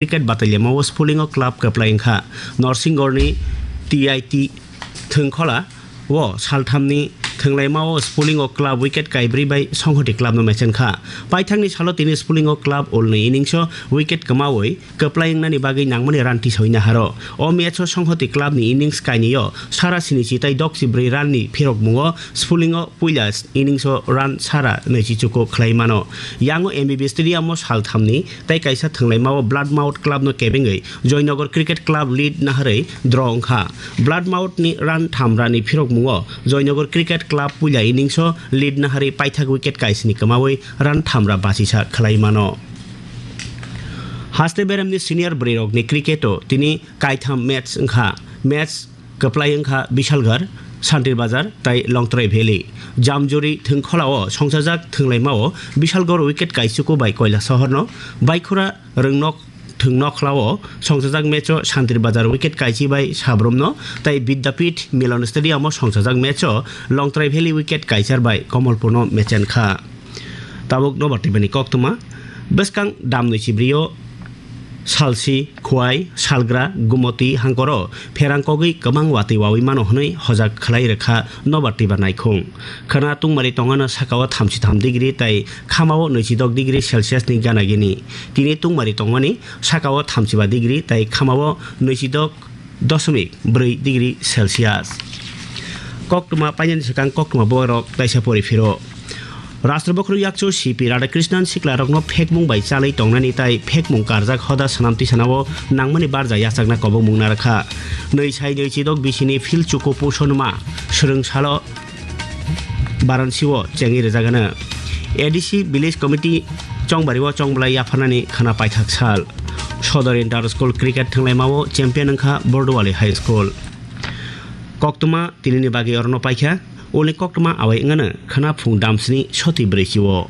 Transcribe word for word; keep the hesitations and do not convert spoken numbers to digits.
cricket bataliamao Spulingo club kwplai wngkha. Norsingorni T I T Thwngkhola o salthamni thwnglaimao Spulingo club wicket kaibrwi bai Songhoti clubno mechenkha. Paithakni salo tini Spulingo club ulni inningso wicket kwmawi kwplai wngnani bagwi nangmani run tisawi naharo. O matcho Songhoti clubni innings kainwio sara sinichi tai dokchi brwi runni phirokmungo Spulingo puila inningso run sara naichi chuku khlai mano. Yango M B B stadiumo salthamni tei kaisa thwnglaimao Bloodmouth clubno kebengwi Joynagar Cricket Club lead naharwi draw wngkha. Bloodmouthni run thamrani phirokmungo Joynagar Cricket Club puila inningso lead naharwi paithak wicket kaisni kwmawi run thamra bachisa khlai mano. Haste beremni senior bwrwirokni cricketo tini kaitham match wngkha. Match kwplai wngkha Bishalgarh, Santir Bazar tai Longtrai Valley. Jamjuri Thwngkholao songchajak thwnglaimao Bishalgarh wicket kaichuku bai Koilasohorno, Baikhura Rwngnok Thwngnokhlao songchajak matcho Santir Bazar wicket kaichi bai Sabrumno tai Vidyapith Milan Stadiumo songchajak matcho Longtrai Valley wicket kaichar bai Komolpurno mechenkha. Tabuk nobar tibani koktwma. Bwskang damnwi chibrio Salsi, Khwai, Salgra, Gumoti hangkoro pherang kogwi kwbang watwi wawi mano hwnwi hojak khlai rwkha nobar tiba naikhung. Khwna tungmari tongano sakao thamchi tham degree tai khamao nwichidok degree Celsius ni gana gini. Tini tungmari tongmani sakao thamchiba degree tai khamao nwichidok doshomik bwrwi degree Celsius. Koktwma painani swkang koktwma borok taisa pori phiro. Rashtra Bokhorok Yakchu C P Radhakrishnan siklarokno phekmung bai chalwi tongnani tai phekmung karjak hoda swnam tisanao nangmani barja yachakna kobokmung narwkha. Nwi sai nwi chidok bisini phil chuku puson ma swrwng salo Varanasi-o chengwi rwjagano. A D C Village Committee chongbario chongbolai yapharnani khwna paithak sal. Sodor Inter School Cricket thwnglaimao champion wngkha Borduwali High School. Koktwma tinini bagwi orono paikha. Ulni koktwma awai wngano khwna phung damsni soti brwichi-o.